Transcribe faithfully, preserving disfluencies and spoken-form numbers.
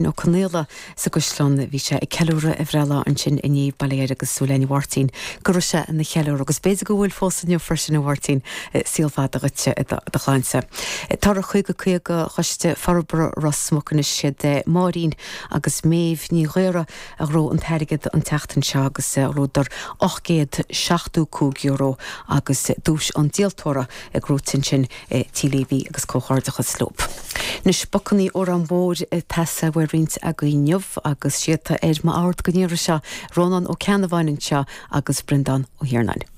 Ó Conaola sa gCaisleán bhí sé ag ceiliúradh a bhreithlá ansin inné bail ó Dhia air agus súil againn a Mháirtín go raibh sé ina cheiliúradh agus b'fhéidir go bhfuil fós inniu freisin a Mháirtín saol fada dhuit i do shláinte. Toradh caoga caoga Choiste Forbartha Ros Muc anois siad Máirín agus Méabh Ní Ghaora a ghnóthaigh an t-airgead an tseachtain seo agus ghnóthaíodar ocht gcéad seachtó cúig euro agus duais an díoltóra gnóthaithe ansin Tí Léibhí agus comhghairdeachas leo. Anois Bacannaí Órán Mór ag teastáil uaidh roinnt agaibh inniu agus siad ar m'ord go n-iarrfaidh seo Rónán Ó Ceannabháin anseo agus Breandán Ó hIarnáin.